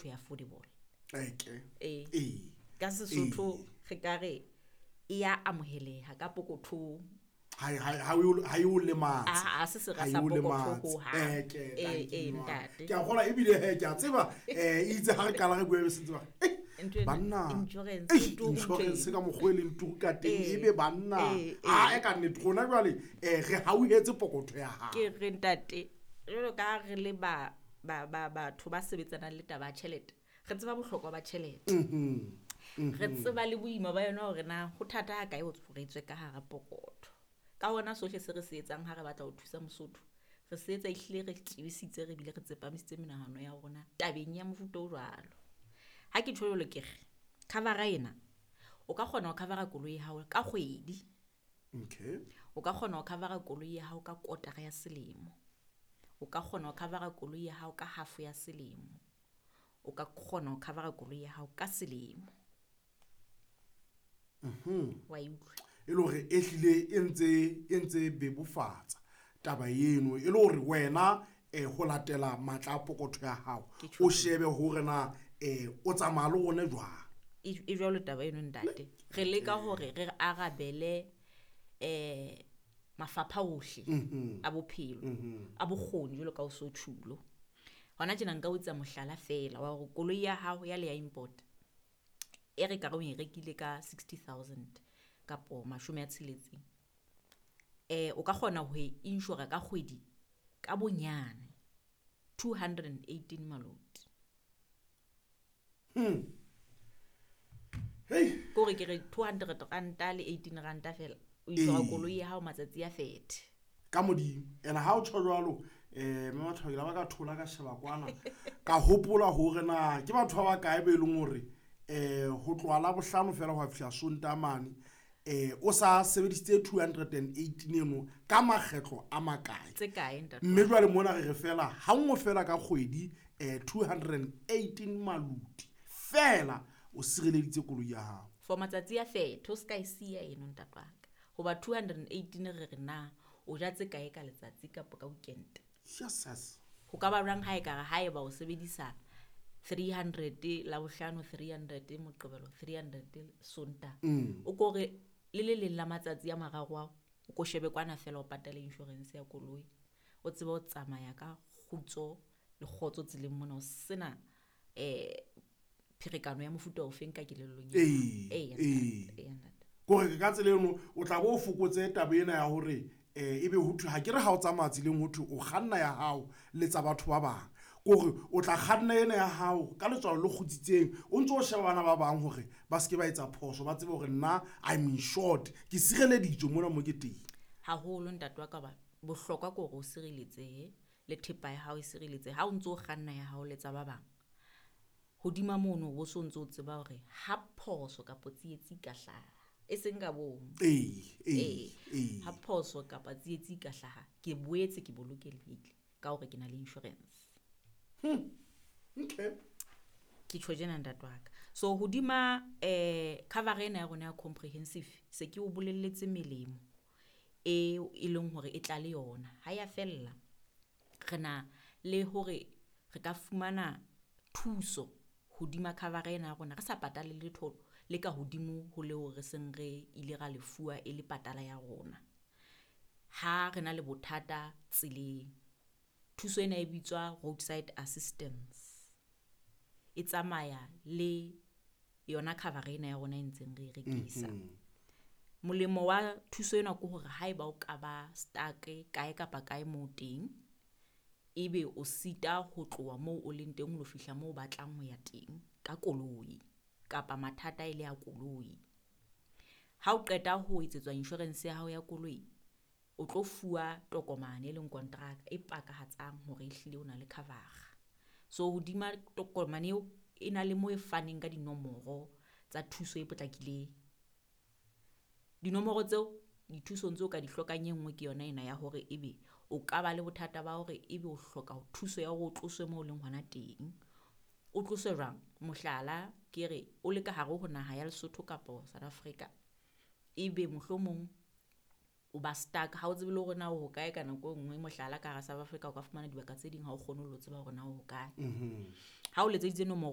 thwe affordable. Eke. Ee. Ee. Ka Sesotho re ka re e ya amoheleha ka pokothong. Ha e o lematse. Ha se sera Ha e sa o pokotho lematse. hohang. Eke, Ee, thank ee, you, ma. ntate. Ke a kgolwa ebile he, ke a tseba, itse ha re qala re bua be se ntse ba re, Ntho ena, banna, insurance e turu insurance ntho ka mokgwa e leng turu ka teng, Ee, ebe banna. ee, ee. Ha, e ka nnete, rona jwale, re hauhetse pokotho ya hao. Ke re ntate, jwalo ka ha re le batho ba sebetsanang le taba ya tjhelete, re tseba bohlokwa ba tjhelete. Re tseba le boima ba yona hore na ho thata ha kae ho re tswe ka hara pokotho. Ka hona sohle se re se etsang ha re batla ho thusa Mosotho, re se etsa ehlile re tibisitse, re bile re tsepamisitse menahano ya rona tabeng ya mofuta o jwalo. Ha ke tjho jwalo ke re, cover-a ena, o ka kgona ho cover-a koloi ya hao ka kgwedi. Okay. O ka kgona ho cover-a koloi ya hao ka kotara ya selemo. O ka kgona ho cover-a koloi ya hao ka half ya selemo. O ka kgona ho cover-a koloi ya hao ka selemo. Wa e utlwa? E le hore e hlile e ntse bebofatsa taba eno, e le hore wena, ho latela matla a pokotho ya hao, Ke tjho o shebe hore na, o tsamaya le rona jwang. E jwalo taba eno ntate. Re leka hore re arabele, mafapha ohle a bophelo, a bokgoni jwalo ka o so tjhulo. Hona tjena nka o etsa mohlala feela wa hore koloi ya hao ya le ya import, e re ka re o e rekile ka 60,000 kapo mashome a tsheletseng. O ka kgona ho e insure ka kgwedi ka bonyane 218 maloti. Hey. Ke hore ke re 200 ranta le 18 ranta fela, o insure Ee. koloi ya hao matsatsi a 30. Ka modimo. Ene ha o tjho jwalo, mme batho ba ke la ba ka thola ka sheba kwana, ka hopola hore na ke batho ba bakae be leng hore, ho tloha Labohlano fela ho ya fihla Sontaha mane, o sa sebedisitse 218 eno ka makgetlo a makae. Tse kae, ntate? Mme jwale mona re re fela, ha nngwe fela ka kgwedi, 218 maluti fela o sireleditse koloi ya hao. For matsatsi a 30, o ska e siya eno ntate wa ka. Hoba 218 re re na o ja tse kae ka letsatsi kapa ka weekend? Yes, yes. Ho ka ba jwang ha e ka re haeba o sebedisa 300 Labohlano, 300 Moqebelo, 300 Sontaha. O ko re le le leng la matsatsi a mararo ao, o ko shebe kwana fela o patale insurance ya koloi. O tsebe ho tsamaya ka kgutso le kgotso tseleng mona, o sena, pherekano ya mofuta ofeng ka kelellong ya hao. Ee, Ee, ee. ntate, ee, ntate. Kore ka tsela eno o tla bo o fokotse taba ena ya hore, ebe ho thwe, ha ke re ha o tsamaya tseleng ho thwe o kganna ya hao le tsa batho ba bang. Kore o tla kganna ena ya hao ka letswalo le kgutsitseng, o ntso o sheba bana ba bang hore ba se ke ba etsa phoso, ba tsebe hore nna I'm insured, ke sireleditswe mona mo ke teng. Haholo ntate wa ka, ba bohlokwa ke hore o sireletsehe le thepa ya hao e sireletsehe. Ha o ntso o kganna ya hao le tsa ba bang, hodima mono o bo so ntso o tseba hore ha phoso kapa tsietsi ka hlaha, e seng ka bomo. Ee, ee, Ee. ee. Ha phoso kapa tsietsi ka hlaha, ke boetse ke bolokehile ka hore ke na le insurance. Okay. Ke tjho tjena ntate wa ka. So hodima, cover ena ya rona ya comprehensive, se ke o bolelletse melemo e e leng hore e tla le yona. Ha ya fella, re na le hore re ka fumana thuso hodima cover ena ya rona, re sa patale letho le ka hodimo ho leo re seng re ile ra lefuwa e le patala ya rona. Ha re na le bothata tseleng, thuso ena e bitswa roadside assistance. E tsamaya le yona cover ena ya rona e ntseng re e rekisa. Molemo wa thuso ena ke hore haeba o ka ba stuck kae kapa kae moo teng, ebe o sita ho tloha moo o leng teng ho lo fihla moo o batlang ho ya teng ka koloi kapa mathata e le ya koloi. Ha o qeta ho etsetswa insurance ya hao ya koloi, o tlo fuwa tokomane e leng kontraka e pakahatsang hore ehlile o na le cover. So hodima tokomane eo e na le moo e faneng ka dinomoro tsa thuso e potlakileng. Dinomoro tseo dithusong tseo ka di hlokang, e nngwe ke yona ena ya hore ebe o ka ba le bothata ba hore ebe o hloka thuso ya hore o tloswe moo o leng hona teng. O tloswe jwang? Mohlala ke re o le ka hare ho naha ya Lesotho kapa South Africa, ebe mohlomong o ba stuck, ha o tsebe le hore na o hokae ka nako e nngwe. Mohlala ka hara South Africa o ka fumana dibaka tse ding ha o kgone ho lo tseba hore na o hokae. Ha o letseditse nomoro